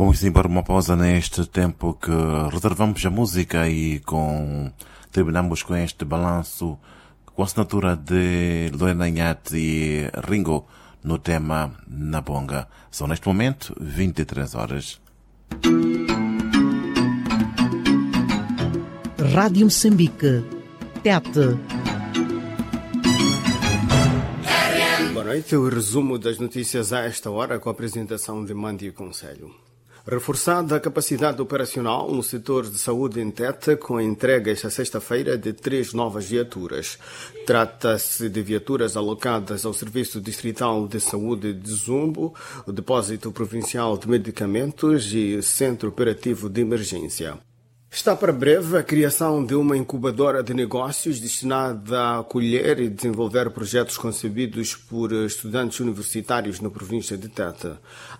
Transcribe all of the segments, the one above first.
Vamos embora uma pausa neste tempo que reservamos a música e com terminamos com este balanço com a assinatura de Lorena Inhate e Ringo no tema Na Bonga. São neste momento 23 horas. Rádio Moçambique. Tete. Boa noite. O resumo das notícias a esta hora com a apresentação de Mandi Conselho. Reforçada a capacidade operacional no setor de saúde em Tete, com a entrega esta sexta-feira de três novas viaturas. Trata-se de viaturas alocadas ao Serviço Distrital de Saúde de Zumbo, o Depósito Provincial de Medicamentos e Centro Operativo de Emergência. Está para breve a criação de uma incubadora de negócios destinada a acolher e desenvolver projetos concebidos por estudantes universitários na província de Tete.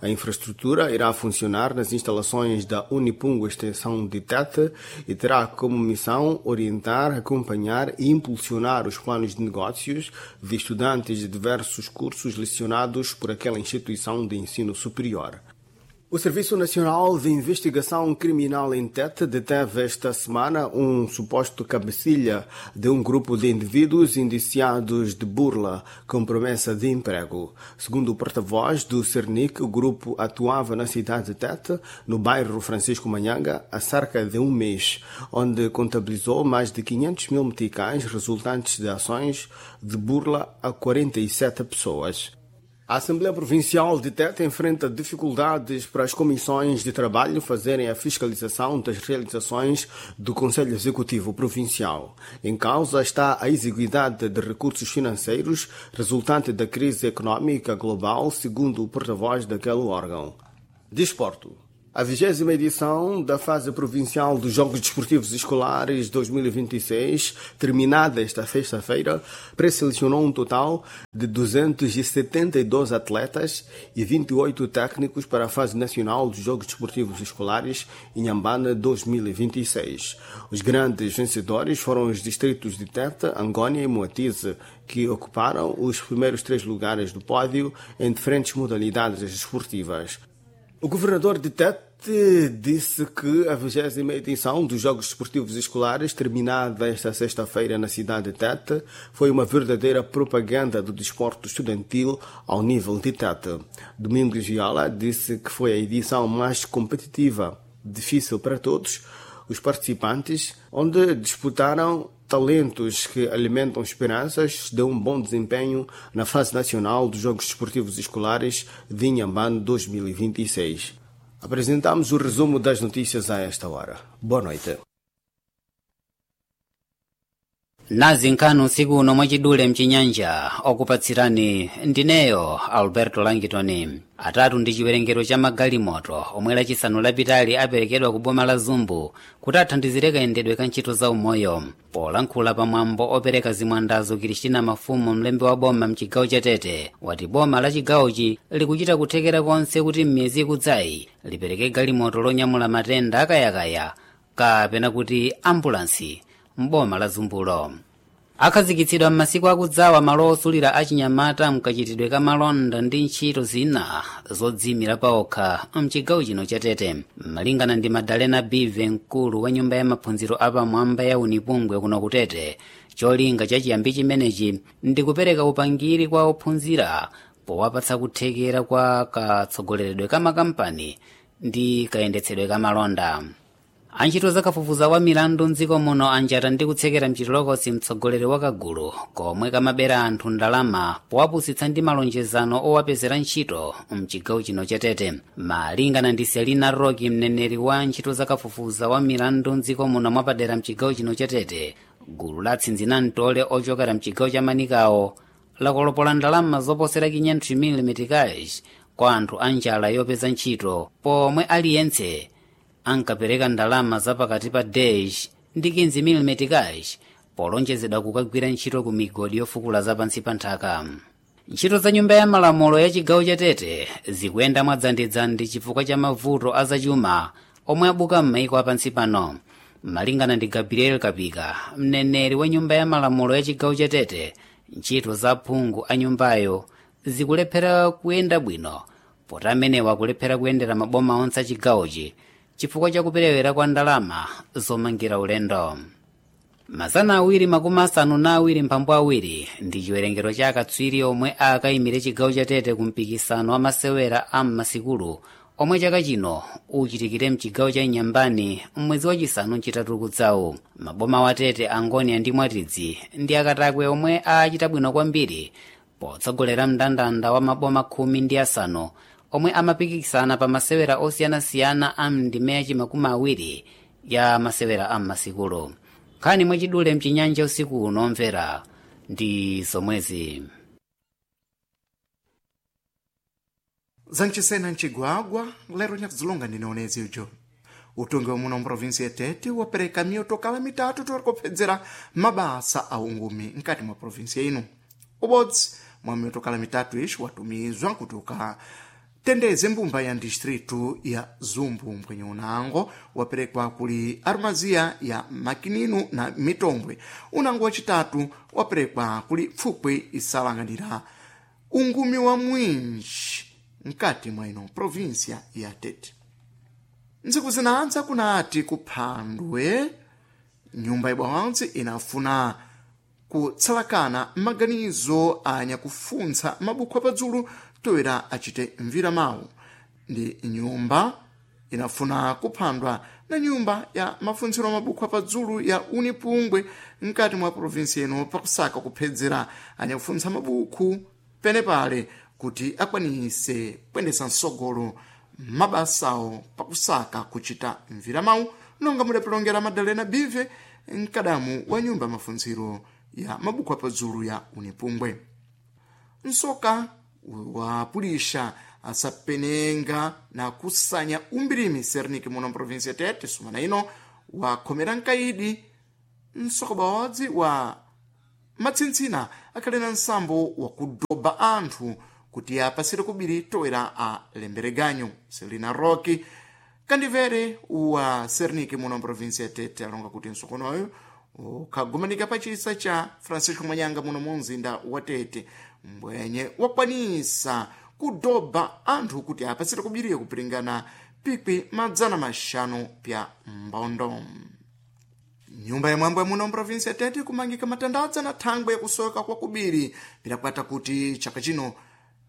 A infraestrutura irá funcionar nas instalações da Unipungo Extensão de Tete e terá como missão orientar, acompanhar e impulsionar os planos de negócios de estudantes de diversos cursos lecionados por aquela instituição de ensino superior. O Serviço Nacional de Investigação Criminal em Tete deteve esta semana um suposto cabecilha de um grupo de indivíduos indiciados de burla com promessa de emprego. Segundo o porta-voz do Cernic, o grupo atuava na cidade de Tete, no bairro Francisco Manhanga, há cerca de um mês, onde contabilizou mais de 500 mil meticais resultantes de ações de burla a 47 pessoas. A Assembleia Provincial de Tete enfrenta dificuldades para as comissões de trabalho fazerem a fiscalização das realizações do Conselho Executivo Provincial. Em causa está a exiguidade de recursos financeiros resultante da crise econômica global, segundo o porta-voz daquele órgão. Desporto. A 20ª edição da fase provincial dos Jogos Desportivos Escolares 2026, terminada esta sexta-feira, pré-selecionou um total de 272 atletas e 28 técnicos para a fase nacional dos Jogos Desportivos Escolares em Inhambane 2026. Os grandes vencedores foram os distritos de Tete, Angônia e Moatize, que ocuparam os primeiros três lugares do pódio em diferentes modalidades esportivas. O governador de Tete disse que a 20ª edição dos Jogos Desportivos Escolares, terminada esta sexta-feira na cidade de Tete, foi uma verdadeira propaganda do desporto estudantil ao nível de Tete. Domingos Viola disse que foi a edição mais competitiva, difícil para todos os participantes, onde disputaram talentos que alimentam esperanças de um bom desempenho na fase nacional dos Jogos Desportivos Escolares de Inhambane 2026. Apresentamos o resumo das notícias a esta hora. Boa noite. Nazi nkhani usiku uno mwachidule mchinyanja okupatsirani ndineyo Alberto Langitoni. Atatu ndi chiwerengero cha magalimoto omwe lachisanu lapitali aperekedwa ku boma la Zumbu kuti athandizire kayendedwe ka ntchito za umoyo. Polankhula pamwambo opereka zimwandazo, Kristina Mafumu, mlembi wa boma mchigawo cha Tete, wati boma la chigawochi likuchita kuthekera konse kuti m'miyezi ikudzayi lipereke galimoto lonyamula matenda akayakaya kapena kuti ambulansi mboma la Zumbulo. Akhazikitsidwa m'masiku akudzawa malo osulira achinyamata mkachitidwe ka malonda ndi ntchito zina zodziyimira paokha mchigawo chino cha Tete. Malingana ndi Madalena Bive, mkulu wa nyumba ya maphunziro apamwamba ya Unipungwe kuno ku Tete, cholinga chachiyambi chimenechi ndi kupereka upangiri kwa ophunzira powapatsa kuthekera kwa katsogoleredwe ka makampani ndi kayendetsedwe ka malonda. Antchito zakafufuza wa milandu mdziko muno anjata ndi kutsekera mchitolokosi mtsogoleri wa kagulu komwe kamabera anthu ndalama powapusitsa ndi malonjezano owapezera ntchito mchigawo chino cha Tete. Malingana ndi Selina Roki, mneneri wa ntchito zakafufuza wa milandu mdziko muno mwapadera mchigawo chino cha Tete, gulu la tsinzinamtole ochokera mchigawo cha Manikawo lakolopola ndalama zoposera 500 meticais kwa anthu a njala yopeza ntchito, pomwe aliyense ankapereka ndalama zapakati pa 10 ndi 15 meticais polonjezedwa kukagwira ntchito ku migodi yofukula zapansi pa nthaka. Ntchito za nyumba ya malamulo ya chigawo cha Tete zikuyenda mwadzandidzandi chifukwa cha mavuto azachuma omwe abuka m'maiko apansi pano. Malingana ndi Gabriel Kapika, mneneri wa nyumba ya malamulo ya chigawo cha Tete, ntchito za phungu a nyumbayo zikulephera kuyenda bwino. Poti amenewa akulephera kuyendera maboma onse achigawochi chifukwa chakuperewera kwa ndalama zomangira ulendo. 272 ndi chiwerengero cha akatswiri omwe akayimire chigawo cha Tete ku mpikisano wa masewera a m'masikulu omwe chaka chino uchitikire mchigawo cha Inyambani m'mwezi wachisanu mchitatu kudzawu. Maboma wa Tete, Angonia ndi Mwatidzi ndi akatakwe omwe achita bwino kwambiri potsogolera mndandanda wa maboma 15 omwe amapikisana pa masewera osiyanasiyana a mndime yachimakumi awiri ya masewera a m'masikulu. Nkhani mwachidule mchinyanja usiku uno omvera ndi zomwezi. Zancisena ncigwagwa lero nyakuzilonga ndinaonezi ujo utongi wa muno mprovinsi ya Tete wapereka miyotokala mitatu torikupfedzera mabasa a ungumi mkati mwa provinsi ino. Ubodzi mwa miyotokala mitatu ixi watumizwa kuti ukatendeze mbumba ya distritu ya Zumbu, mbwenye unango waperekwa kuli arumaziya ya Makininu na Mitombwe. Unango wacitatu waperekwa kuli pfupwe isalanganira ungumi wa mwinji mkati mwa ino provinsia ya Tete. Ntsiku zinadza kunati kuphandwe nyumba ibawantsi inafuna kutsalakana maganizo anyakufuntsa mabukhu apadzulu toera achite mvira mawu ndi nyumba inafuna kuphandwa na nyumba ya mafuntsiro a mabukhu apadzulu ya Unipungwe mkati mwa provinsi ino pakusaka kuphedzera anyakufuntsa mabukhu penepale kuti akwanise kuyendesa msogolo mabasawo pakusaka kuchita mvira mawu, nonga mudapilongera Madalena Bive, mkadamu wa nyumba ya mafuntsiro ya mabukhu apadzulu ya Unipungwe. Nsoka wapulisha asapenenga na kusanya umbirimi Serniki muno mprovinsi ya Tete sumana ino wakhomera mkaidi nsoka bawadzi wa matsintsina akhali na nsambo wakudoba anthu kuti apasire kubiri toera a lembereganyo. Selina Rocky kandivere wa Serniki muno mprovinsi ya Tete alonga kuti msokonoyo ukhagumanika pachisa cha Francisco Manyanga muno mu mzinda wa Tete, mbwenye wakwanisa kudoba anthu kuti apasire kubiriye kupiringana pikwi 500 pya mbondo. Nyumba ya mwambo ya muno mprovinsi ya Tete kumangika matandadza na thangwe yakusoka kwa kubiri pidakwata kuti chaka chino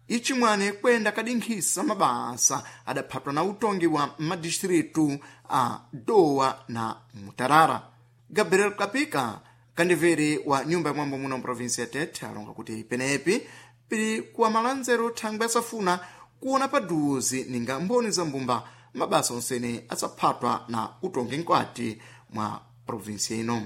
ichimwane kwenda kadinkhisa mabasa adaphatwa na utongi wa madistritu a Dowa na Mutarara. Gabriel Kapika kandivere wa nyumba ya mwambo muno mprovinsi ya Tete alonga kuti penepi pili kuwa malanzero thangwe asafuna kuona paduzi ninga mboni za mbumba mabasa onsene asaphatwa na utongi mkwati mwa provinsi ino.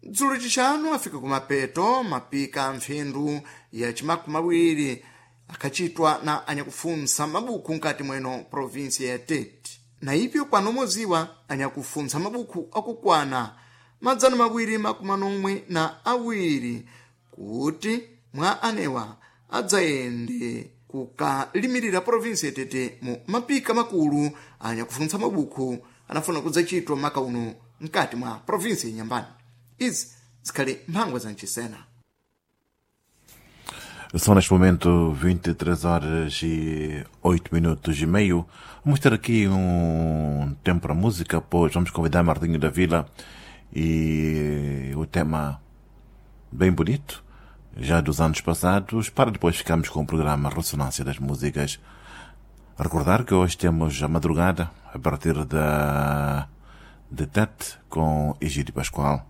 Dzulo chixanu afika kumapeto mapika mphindu ya chimakumi awiri akhacitwa na anyakufuntsa mabukhu mkati mweno provinsi ya Tete. Na ipyo kwanomoziwa anyakufuntsa mabukhu akukwana 272 kuti mwa anewa adzayende kukalimirira provinsi ya Tete mu mapika makulu anyakufuntsa mabukhu anafuna kudzachitwa maka uno mkati mwa provinsi ya Nyambani. Izi zikhali mphangwa za mchisena. São neste momento 23 horas e 8 minutos e meio. Vamos ter aqui um tempo para música, pois vamos convidar Martinho da Vila e o tema bem bonito, já dos anos passados, para depois ficarmos com o programa Ressonância das Músicas. Recordar que hoje temos a madrugada, a partir da de Tete, com Egídio Pascoal.